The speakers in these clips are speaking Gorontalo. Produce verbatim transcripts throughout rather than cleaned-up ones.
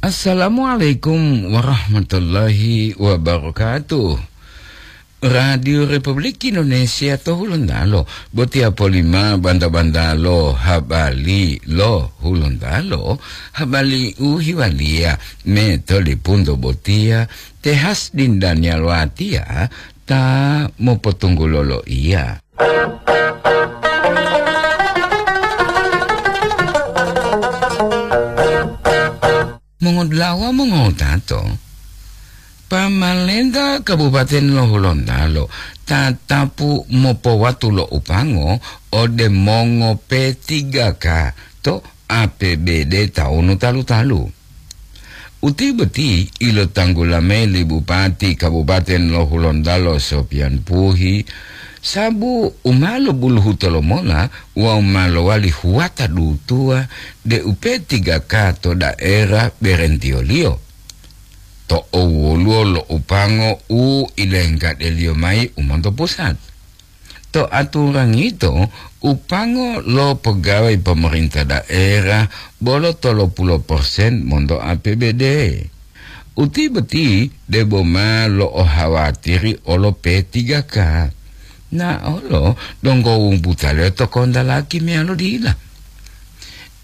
Assalamualaikum warahmatullahi wabarakatuh. Radio Republik Indonesia to Hulontalo, botiya polima banta-bantalo habari lo Hulontalo, habari u hiwaliya me to lipunto botiya, te Hasdin Daniel Watiya ta mopotunggulo loiya. Mongodulawa mongotato, pamalenta Kabupaten lo Hulontalo tatapu mopowatu lo upango ode mongo P tiga K to A P B D taunu talu-talu. Uti boti ilotanggula mayi li Bupati Kabupaten lo Hulontalo Sopian Puhi, sabu u ma lobuluhu tolomola wawu ma lowali huwata dutuwa deu P tiga K to daerah berentiyoliyo. To owoluwo lo upango u ilenggadeliyo mayi u monto pusat. To aturangi yito, upango lo pegawai pemerintah daerah bolo tolo pulu persen monto A P B D. Uti boti debo ma lo'ohawatiri olo P tiga K. Na olo donggo wumbutaliyo to kontalaki meyalo dila.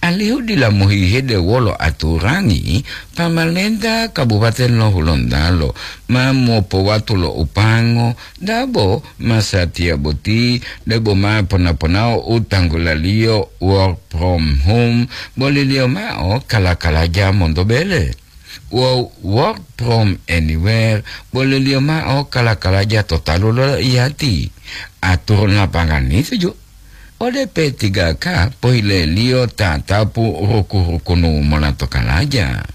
Alihu dila mohihede wolo aturangi, pamalenta Kabupaten lo Hulontalo ma mopowatu lo upango, dabo masatiya boti debo ma pona-ponao u tanggulaliyo work from home, boliliyo mao kala-kalaja monto bele. Wawu work from anywhere, boliliyo mao kala-kalaja to talu lo iyati. Aturan lapangan itu ju. Ode P tiga K pohileliyo tatapu ruku-rukunu mola to kalaja.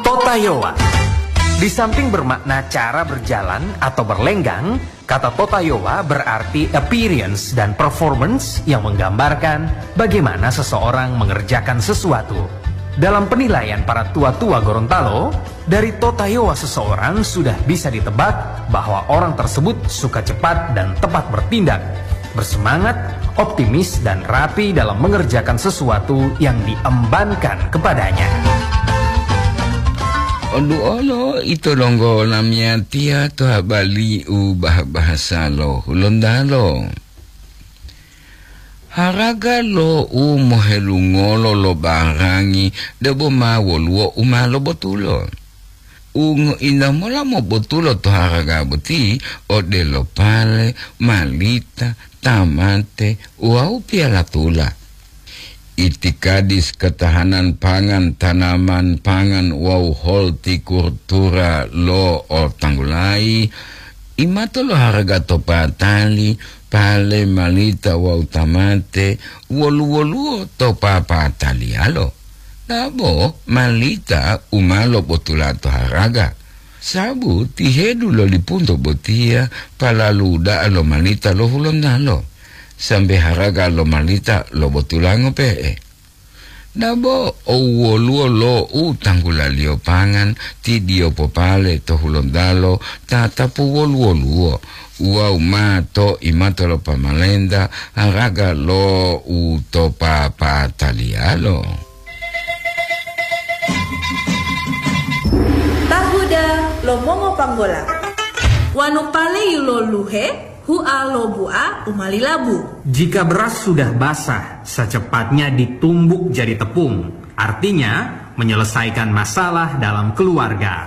Totayowa. Di samping bermakna cara berjalan atau berlenggang, kata totayowa berarti appearance dan performance yang menggambarkan bagaimana seseorang mengerjakan sesuatu. Dalam penilaian para tua-tua Gorontalo, dari totayowa seseorang sudah bisa ditebak bahwa orang tersebut suka cepat dan tepat bertindak, bersemangat, optimis, dan rapi dalam mengerjakan sesuatu yang diembankan kepadanya. Oduolo ito donggo lamiyatiya to habari u bah-bahasa lo Hulontalo. Haraga lo u mohelungolo lo barangi debo ma woluwo u ma lobotulo. U ngointa mola mobotulo to haraga boti odelo pale, malita, tamate, wawu piyalatula. Itikadis ketahanan pangan, tanaman pangan wawu holtikultura lo otanggulayi, imato lo haraga to patali, pale, malita wawu tamate, wolu-woluwo to papataliyalo. Dabo malita u ma lobotula to haraga, sabu tihedu lo lipunto botiya palalu da'a lo malita lo Hulontalo, sambe haraga lo malita lobotula ngope'e. Dabo owoluwo lo u tanggulaliyo pangan, ti diyo popale to Hulontalo tatapu wolu-woluwo, wawu ma to imato lo pamalenta haraga lo u to papataliyalo. Tahuda lo mongopanggola. Wanu pale yiloluhe, hua lo bua u ma lilabu. Jika beras sudah basah, secepatnya ditumbuk jadi tepung. Artinya, menyelesaikan masalah dalam keluarga.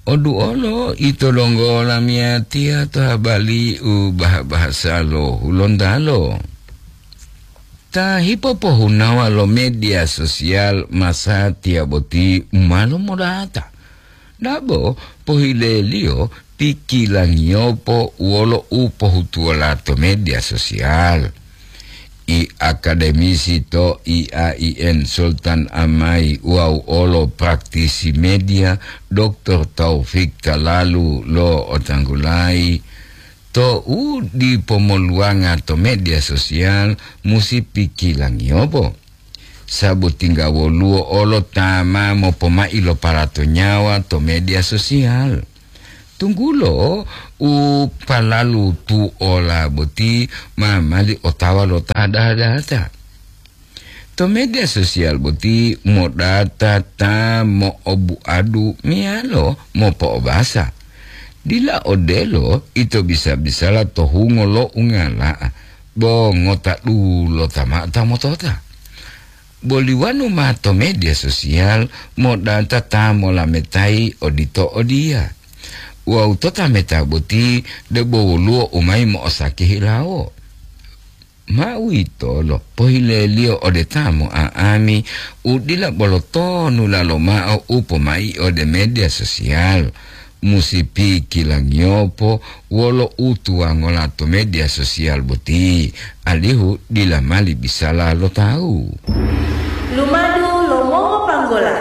Oduolo ito donggo lamiyatiya to habari u bah-bahasa lo Hulontalo. Ta hipopohunawa lo media sosial masatiya boti u ma lomodata. Dabo pohileliyo pikilangiyopo wolo u pohutuwola to media sosial. I akademisi to I A I N Sultan Amai wawu olo praktisi media, Doktor Taufik Talalu lo otanggulayi, to u dipomoluwanga to media sosial musi pikilangiyopo. Sabu tingga woluwo olo ta ma mopomai lo palato nyawa to media sosial. Tunggulo u palalu tuola boti ma mali otawa lo ta data-data. To media sosial boti modata ta mo'obuadu meyalo mopo'obasa. Dila odelo ito bisa-bisala to hungo lo ungala'a, bo ngota dulota mao ta motota. Boli wonu ma to media sosial modata ta molametayi odito odiya. Wawu to tameta boti debo woluwo u mayi mo'osaki hilawo. Ma uwitolo pohileliyo ode ta mo'a'ami u dila bolo tonulalo mao u pomai ode media sosial. Musi pikilangiyopo wolo u tuwangola to media sosial boti, alihu dila mali bisala lo tawu. Lumadu lo mongopanggola.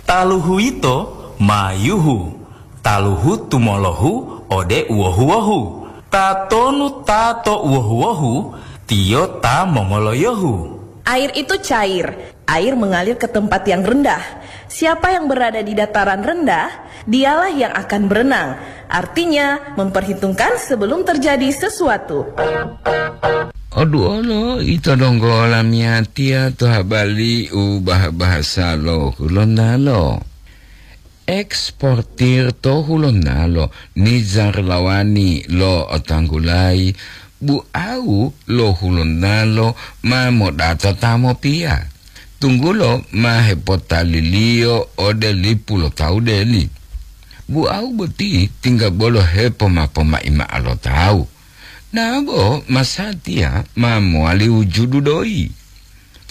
Taluhu yito ma yuhu, taluhu tumolohu ode uwohu-wohu. Tatonu ta to uwohu-wohu, tiyo ta mongoloyohu. Air itu cair. Air mengalir ke tempat yang rendah. Siapa yang berada di dataran rendah, dialah yang akan berenang. Artinya, memperhitungkan sebelum terjadi sesuatu. Oduolo ito donggo lamiyatiya to habali u bah-bahasa lo Hulontalo. Eksportir to Hulontalo, Nizar Lawani lo'otanggulayi, bu'au lo Hulontalo ma modata ta mopiya, tunggulo ma hepotaliliyo ode lipu lo tawu deli. Bu'au boti tingga bolo hepoma-pomai mao lo tawu, nabo masatiya ma mowali wujudu doyi.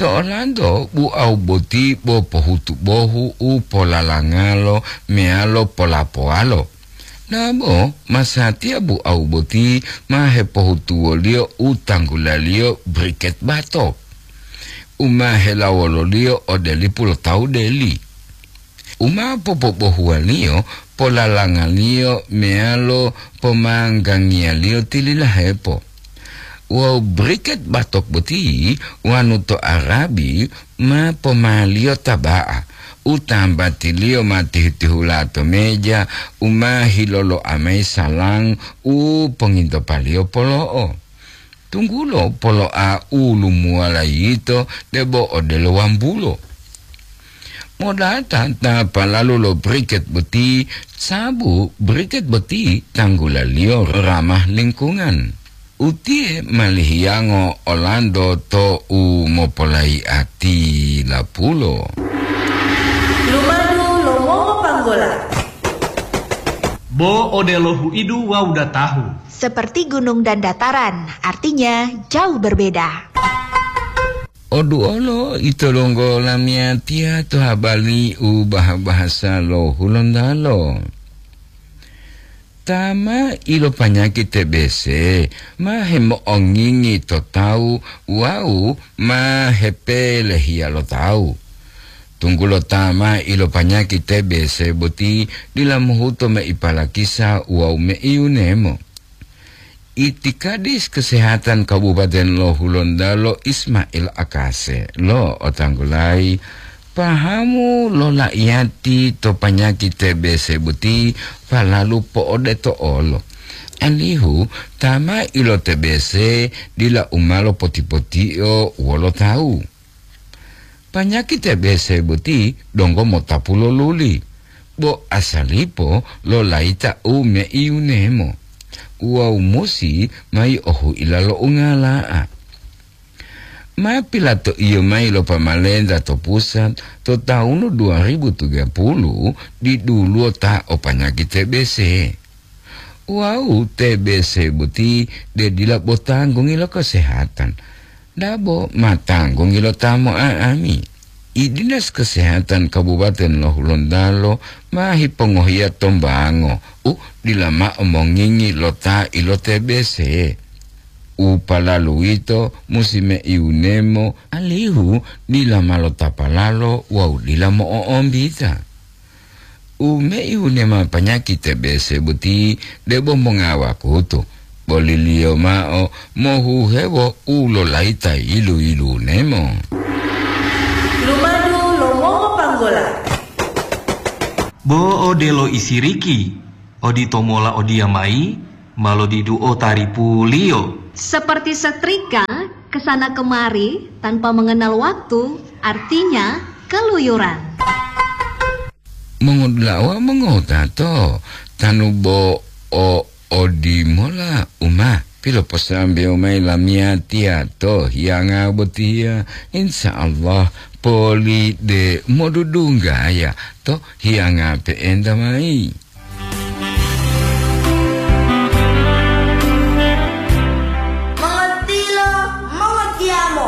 To olanto bu'au boti bo pohutu bohu u polalangalo meyalo polapowalo. Nabo masatiya bu'au boti ma hepohutuwoliyo u tanggulaliyo briket batok, u ma helawololiyo ode lipu lo tawu deli. U ma popobohuwaliyo, polalangaliyo meyalo pomanggangiyaliyo tililahepo. Wawu briket batok boti wonu to Arabi ma pomaliyo taba'a, u tambatiliyo ma tihu-tihula to meja, u ma hiloloa mayi salang u pongintopaliyo polo'o. Tunggulo polo'a u lumuwala yito debo odelo wambulo. Modata ta palalu lo briket boti, sabu briket boti tanggulaliyo ramah lingkungan. Utiye ma lihiyango olanto to u mopolayi'ati lapulo. Lumadu lo mongopanggola. Bo odelo huidu wawu datahu. Seperti gunung dan dataran, artinya jauh berbeda. Oduolo ito donggo lamiyatiya to habali u bah-bahasa lo Hulontalo. Ta ma ilopanyaki T B C ma hemo'ongingi to tawu wawu ma hepelehiya lo tawu. Tunggulo ta ma ilopanyaki T B C boti dila mohuto mei palakisa wawu mei yunemo. Itikadis Kesehatan Kabupaten lo Hulontalo Ismail Akase lo'otanggulayi pahamu lo la'iyati to panyaki T B C boti palalu po'odeto olo. Alihu ta ma ilo T B C dila u ma lopoti-potio wolo tawu. Panyaki T B C boti donggo motapu lo luli, bo asalipo lo layita u mei yunemo wawu musi mayi ohuila lo ungala'a. Ma pilatoiyo mayi lo pamalenta to pusat to tawunu dua ribu tiga puluh diduluwo ta o panyaki T B C. Wawu T B C boti de dila bo tanggungi lo kesehatan, dabo ma tanggungi lo ta mo'a'ami. I Dinas Kesehatan Kabupaten lo Hulontalo ma hipongohiya tombango u dila mao mongingi lo ta ilo T B C. U palalu uwito musi mei wunemo, alihu dila ma lotapalalo wawu dila mo'o'ombita. U mei wunema panyaki T B C boti debo mongawakutu, boliliyo mao mohuhewo u lolayita yilu-yilunemo. Lumadu lo mongopanggola. Bo odelo isiriki, odito mola odiyamayi ma lodiduo taripuliyo. Seperti setrika, Kesana kemari tanpa mengenal waktu, artinya keluyuran. Mongodula'a wawu mongotato, tanu bo o odimola uma piloposambewo mayi lamiyatiya to hiyanga botiya, insya Allah poli de modudunggaya to hiyanga pe'enta mayi.